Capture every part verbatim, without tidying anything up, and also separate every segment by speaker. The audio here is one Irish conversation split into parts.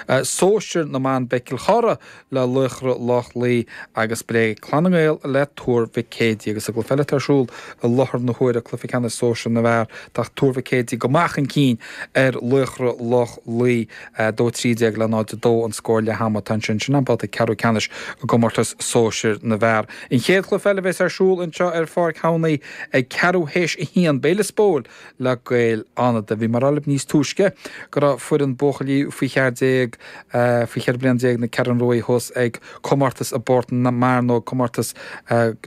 Speaker 1: Sóisir na mban beidh Cill Chartha le Laochra Loch Lao agus beidh Clann na nGael le Tuar Mhic Éadaigh agus sa gcluiche eile atá ar siúl i láthair na huaire cluiche ceannais sóisir na bhfear tá Tuar Mhic Éadaigh go maith chun cinn ar Laochra Loch Lao dó trí déag le náid a dó an scór leath ama atá ansin sin an babhta ceathrú ceannais i gcomórtas sóisir na bhfear. An chéad chluiche eile a bheas ar siúl anseo ar Pháirc Thamhnaí ag ceathrú théis a haon beidh Lios Póil le Gaeil Fhánada. Bhí mé ag rá libh níos túisce go raibh foireann buachaillí faoi cheathair déag faoi cheithre bliana déag na Ceathrún Rua thuas ag comórtas i bPort na Mearnóg, comórtas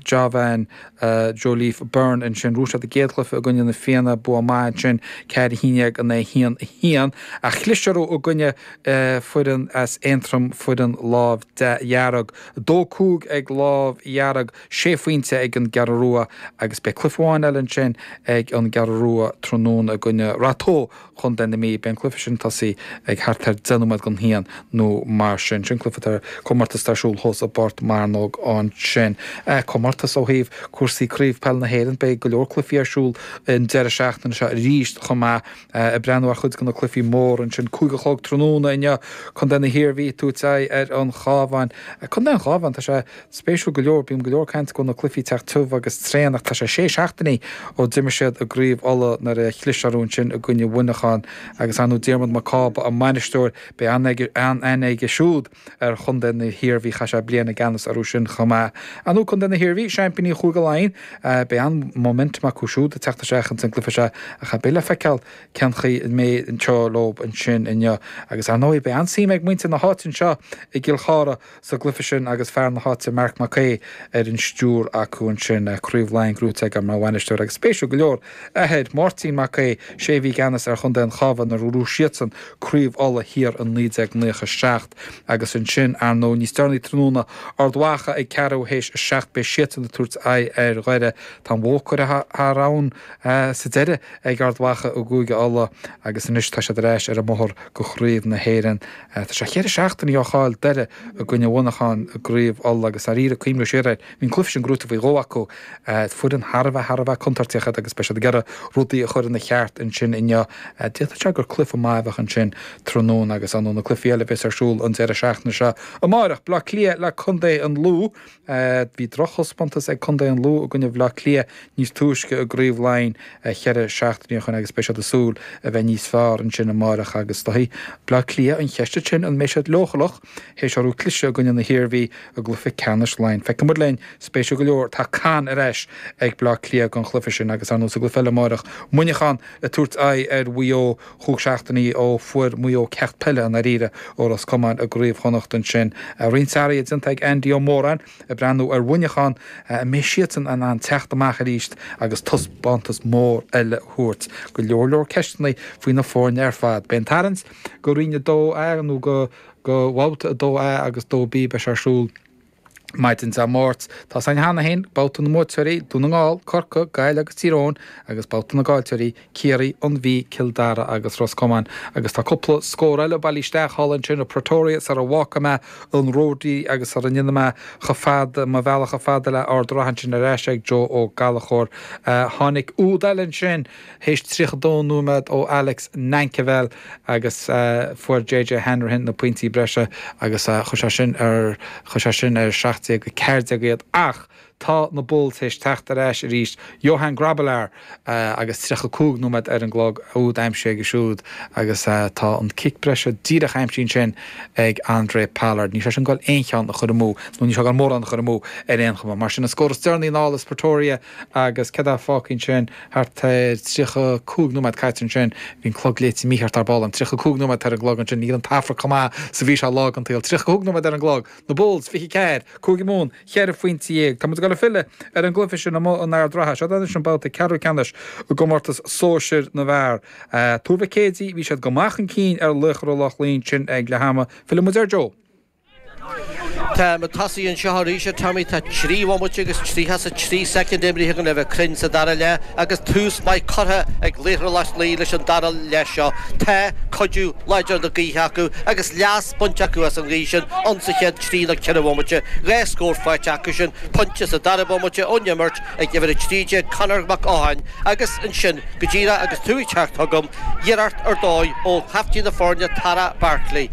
Speaker 1: Jovan Joliffe Byrne ansin. Bhuaigh siad a gcéad chluiche i gcoinne na Fianna, bua maith ansin, ceathair a haon déag in aghaidh a haon a haon. Ach chlis orthu i gcoinne foireann as Aontroim, foireann Lámh Dhearg. Dó cúig ag Lámh Dhearg, sé phointe ag an gCeathrú Rua agus beidh cluiche amháin eile ansin ag an gCeathrú Rua tráthnóna i gcoinne Rath Tó, Chontae na Mí. Beidh an cluiche sin ag tosaí ag thart ar deich nóiméad don haon nó mar sin. Sin cluiche atá comórtas atá ar siúl thuas i bPort Mearnóg ansin. Comórtas ó thaobh cúrsaí Craobh Peile na hÉireann. Beidh go leor cluichí ar siúl an deireadh seachtaine seo arís chomh maith. Ag breathnú ar chuid de na cluichí móra ansin. Cúig a chlog tráthnóna inniu, Contae na hIarmhí ag tabhairt aghaidh ar an Chabhán. Contae an Chabháin, tá sé spéisiúil go leor, bíonn go leor caint go bhfuil na cluichí ag teacht tiubh agus tréan ach tá sé sé seachtainí ó d'imir siad i gCraobh Uladh nuair a chlis orthu ansin i gcoinne Mhuineacháin agus ar ndóigh Diarmuid Mac Cába a mbainisteoir, beidh an-aithne aige siúd ar chontae na hIarmhí, chaith sé bliain i gceannas orthu sin chomh maith. Ar ndóigh contae na hIarmhí, seaimpíní Chúige Laighean, beidh an-momentum acu siúd ag teacht isteach ins an gcluiche seo ach beidh le feiceáil cén chaoi a mbeidh an treo leo ansin inniu. Agus ar ndóigh beidh an-suim ag muintir na háite anseo i gCill Chartha sa gcluiche sin agus fear na háite Marc Mac Aoidh ar an stiúir acu ansin, Craobh Laighean gnóthaithe aige mar bhainisteoir agus spéisiúil go leor, athair, Máirtín Mac Aoidh, sé a bhí i gceannas ar chontae an Chabháin nuair a ghnóthaigh siadsan Craobh Uladh thiar in naoi déag naocha seacht. Agus ansin, ar ndóigh, níos deireanaí tráthnóna, Ard Mhacha ag ceathrú théis a seacht, beidh siadsan ag tabhairt aghaidh ar Dhoire. Tá an bhó curtha thar abhainn sa deireadh ag Ard Mhacha i gCúige Uladh agus anois tá siad ar ais ar an mbóthar go Craobh na hÉireann. Tá sé cheithre seachtainí ó chaill Doire i gcoinne Mhuineacháin i gCraobh Uladh agus dáiríre cuimhniú siar air, bhí an cluiche sin gnóite faoi dhó acu. Foireann thar a bheith, thar a bheith contúirteach iad agus beidh siad ag iarraidh rudaí a chur ina cheart ansin inniu. D'fhéadfadh sé gur cluiche maith a bheadh ansin tráthnóna agus ar ndóigh na cluichí eile a bheas ar siúl an deireadh seachtaine seo. Amárach, Bleá Cliath le Contae an Lú. Bhí drochthaispeántas ag Contae an Lú i gcoinne Bhaile Átha Cliath níos túisce i gCraobh Laighean cheithre seachtainí ó shin agus beidh siad ag súil a bheith níos fearr ansin amárach agus is dóichí Bleá Cliath an cheist ansin an mbeidh siad leochaileach théis orthu cliseadh i gcoinne na hIarmhí i gcluiche ceannais Laighean. Feicfidh muid linn, spéisiúil go leor, tá Con ar ais ag Bleá Cliath don chluiche sin agus ar ndóigh sa gcluiche eile amárach, Muineachán ag tabhairt aghaidh ar Mhaigh Eo chúig seachtainí ó fuair Maigh Eo ceacht peile i ndáiríre ó Ros Comáin i gCraobh Chonnacht ansin. Roinnt athruithe déanta ag Andy Ó Móráin ag breathnú ar Mhuineachán, an mbeidh siadsan in ann teacht amach arís agus taispeántas mór eile a thabhairt. Go leor leor ceisteanna faoi na foirne ar fad. Beidh an tarraingt go Roinn a dó A nó go go Bhabhta a dó A agus dó B beidh sé ar siúl maidin Dé Máirt. Tá a fhios againn cheana féin, babhta na mbuaiteoirí, Dún na nGall, Corcaigh, Gaillimh agus Tír Eoghain, agus babhta na gcaillteoirí, Ciarraí, An Mhí, Cill Dara agus Ros Comáin. Agus tá cúpla scór eile bailithe isteach thall ansin i Pretoria sara bhfágfaidh mé an Ródaí agus sara ndéanfaidh mé chomh fada, mo bhealach chomh fada le Ard an Rátha ansin ar ais ag Joe Ó Gallchóir. Tháinig úd eile ansin théis tríocha dó nóiméad ó Alex Nankivell agus fuair JJ Hanrahan na pointí breise agus chuir sé sin ar chuir sé sin ar seacht déag a ceathair déag iad ach tá na Bulls théis teacht ar ais arís. Johan Grobbelaar agus tríocha cúig nóiméad ar an gclog, úd aimsithe aige siúd agus tá an cic breise díreach aimsithe ansin ag Handré Pollard. Níl sé sin ag goil aon cheann a chur amú nó níl sé ag goil mórán a chur amú ar aon chuma. Mar sin an scór is deireanaí anall as Pretoria agus céard atá fágtha ansin? Thart ar tríocha cúig nóiméad caite ansin, bhí an clog léite mícheart ar ball agam, tríocha cúig nóiméad ar an gclog ansin, níl an tAfraic chomh maith is a bhí sé lá den tsaol, tríocha cúig nóiméad ar an gclog, na Bulls, fiche ceathair, Cúige Mumhan, cheithre phointe dhéag. Tá muid ag dul ag filleadh ar an gcluiche sin amuigh in Ard Ratha. Seo anois an babhta ceathrú ceannais i gcomórtas sóisir na bhfear. Tuar Mhic Éadaigh, bhí siad go maith chun cinn ar Laochra Loch Lao ansin ag leath ama. Filleann muid ar Joe.
Speaker 2: Tá muid tosaithe anseo arís, a Tommy. Tá trí bhomaite agus tríocha is a trí soicind imrithe againn le bheith cruinn sa dara leath agus tús maith curtha ag Laochra Loch Lao leis an dara leath seo. Tá cuidiú láidir na gaoithe acu agus leas bainte acu as an ghaoth sin ann sa chéad trí nó ceithre bhomaite. Dhá scór faighte acu sin, pointe sa dara bomaite ón imirt ag uimhir a trí déag Conor Mac Eoghain agus ansin go díreach agus tú ag teacht chugam, iarracht ar dóigh ó chaiftín na foirne Tara Barkley.